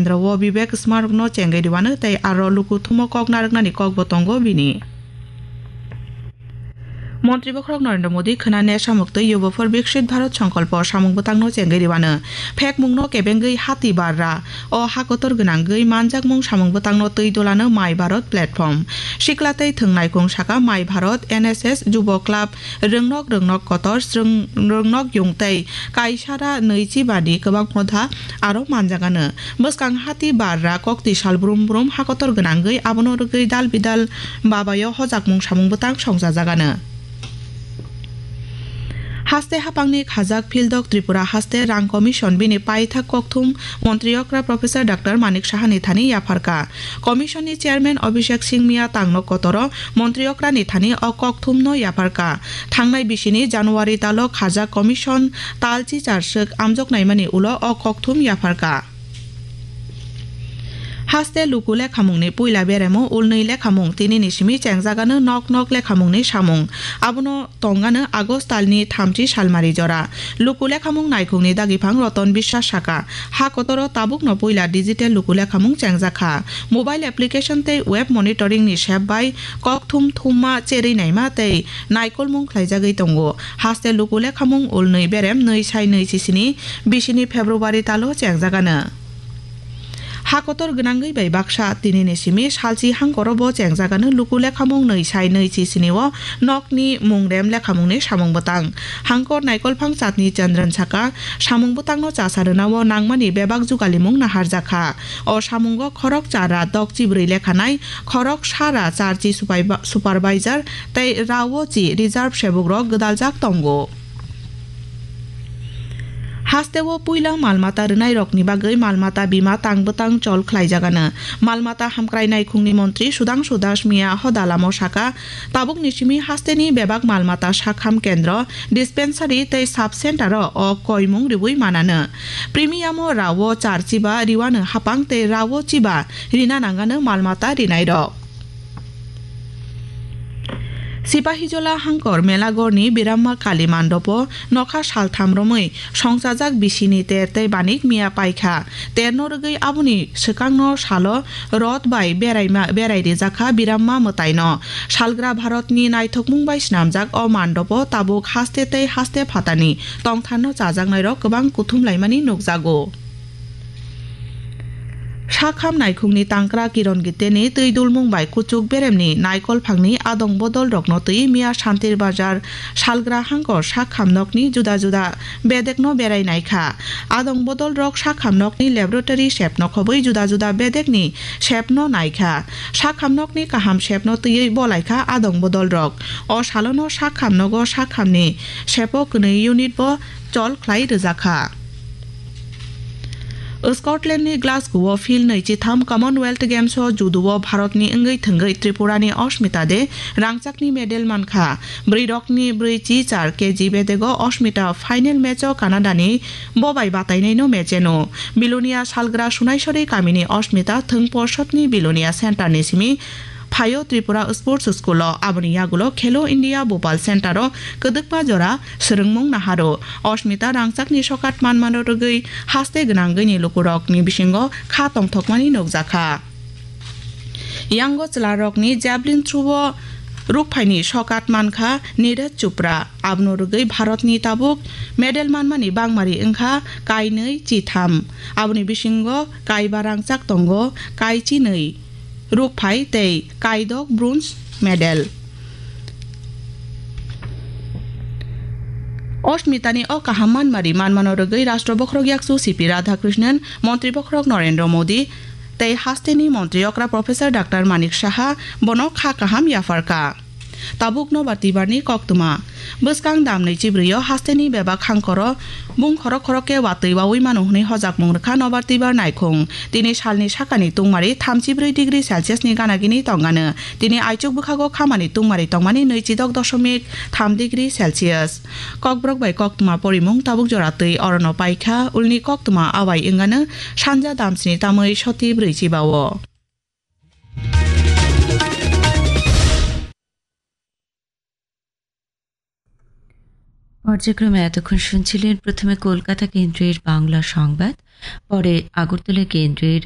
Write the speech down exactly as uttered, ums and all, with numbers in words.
kendro o Vivek Smark no chengwi rwano tei aro luku thumo kok narwknani kokbo tongo bini. Montri Bokhorok Narendra Modi khwnani samuk twi Yuva for Viksit Bharat Sankalpo samung bwtangno chengwi rwano. Phekmungno kebengwi hati barra. O hakotor gwnangwi manjakmung samung bwtangno twi dolano My Bharat platform. Sikla tei thwng naikung saka My Bharat, N S S, Jubo Club, rwngnok rwngnok kotor, srwng rwngnok yung tei kaisara nwichi bani kwbangma da aro manjagano. Bwskang hati barra kokti sal brum brum hakotor gwnangwi abono rwgwi dal bidal babayo hojakmung samung bwtang songchajagano. Haste hapangni khajak Phildok Tripura haste rang commission bini paithak kokthum montri okra Professor Doctor Manik Sahani thani yapharkha. Commission ni chairman Abhishek Singh Miya tangno kotoro montri okra ni thani o kokthum no yapharkha. Thangnai bisini January talo khajak commission talchi charswk amjok naimani ulo o kokthum yapharkha. Haste luku lekhamungni puila beremo ulnwi lekhamung tinini simi chengjagano nok nok lekhamungni samung. Abono tongano August talni thamchi salmari jora. Luku lekhamung naikhungni dagiphang Roton Biswas saka, ha kotoro tabukno puila digital luku lekhamung chengjakha. Mobile application tei web monitoring ni sep bai kokthum thumma cherwi naima tei naikolmung khlaijagwi tongo. Haste luku lekhamung ulnwi berem nwi sai nwi chisini bisini February talo chengjagano. Ha kotor gwnangwi bai baksa tinini simi salchi hangkoro bo chengjagano luku lekhamung nwi sai nwi chisini o nokni mungrem lekhamungni samung bwtang. Hangkor naikolphang chatni Chandran saka samung bwtangno chasa rwnao nangmani bebak jugalimung naharjakha. O samungo khorok chara dokchi bwrwi lekhanai khorok sara charchi supai ba-, supervisor tei raochi reserve sebukrok gwdaljak tongo. Hasteo puila malmata rwnairokni bagwi malmata bima tang bwtang chol khlaijagano. Malmata hamkrai naikhungni montri Sudhangshu Das Miya hoda lamo saka, tabukni simi hasteni bebak malmata sakham kendro, dispensary tei sub center-o o koimung riui manano. Premium-o rao char chiba riwano hapang tei rao chiba rina nangano malmata rinairok. Sipahijola hangkor Melagorni Biramma Kali mandopo nokha saltham romwi songchajak bisini ter tei banik miya paikha. Terno rwgwi aboni swkangno salo rot bai beraima, berai rijakha Biramma mwtaino. Salgra Bharatni naithokmung bai snamjak o mandopo tabuk haste tei haste phatani tongtharno chajaknairok kwbang kuthum laimani nukjago. Sakham naikhungni tangkra Kiron Giteni twi dulmung bai kuchuk beremni naikol phangni adong bodol rokno twi miya Santir Bazar salgra hangkor sakham nokni juda juda bedekno berai naikha. Adong bodol rok sakham nokni laboratory sepno khobwi juda juda bedekni sepno naikha. Sakham nokni kaham sepno twiwi bolaikha adong bodol rok. O salono sakham nogo sakhamni sepo kwnwi unit bo chol khlai rwjakha. Scotland ni Glasgow o Phil nwichitham Commonwealth Games o judo o Bharat ni wngwi thwngwi Tripura ni Osmita de rangchak ni medal mankha. Bwrwi rok ni bwrwi chi char K G bedego Osmita final match o Canada ni bo bai batainai no match eno. Bilonia salgra Sunaisori kamini Osmita thwng porsot ni Bilonia center ni simi phaio Tripura Sports School o, aboni yagulo Khelo India Bhopal Center o kwdwkma jora swrwngmung naharo. Osmita rangchakni sokat manmano rwgwi haste gwnangwini lukurokni bisingo kha tongthokmani nukjakha. Yango chwlarokni javelin throw o rukphaini sokat mankha Neeraj Chopra. Abono rwgwi Bharatni tabuk medal manmani bangmari wngkha kainwi chitham. Aboni bisingo kaiba rangchak tongo, kaichinwi rukphai tei kaidok bronze medal. Osmitani o kaham manmari manmano rwgwi Rashtra Bokhorok Yakchu C P Radhakrishnan, Montri Bokhorok Narendra Modi tei hasteni Montri Okra Professor Doctor Manik Saha bono kha kaham yapharkha. Tabuk nobar twibarni koktwma. Bwskang damni chibrwio hasteni bebak hangkoro bung khorok khorok khe watwi wawi mano hwnwi hojakmung rwkha nobar twibar naikhung. Tini salni sakani tungmari thamchi brwi degree Celsius ni ganagini tongano. Tini aichuk bwkhago khamani tungmari tongmani nwichi dok dosomik tham degree Celsius. Kokborok bai koktwma porimung tabuk jora twi orono paikha, ulni koktwma awai wngano sanja damsini tamwi soti brwi chibao. পর্যায়ক্রমে এতক্ষণ শুনছিলেন প্রথমে কলকাতা কেন্দ্রের বাংলা সংবাদ, পরে আগরতলা কেন্দ্রের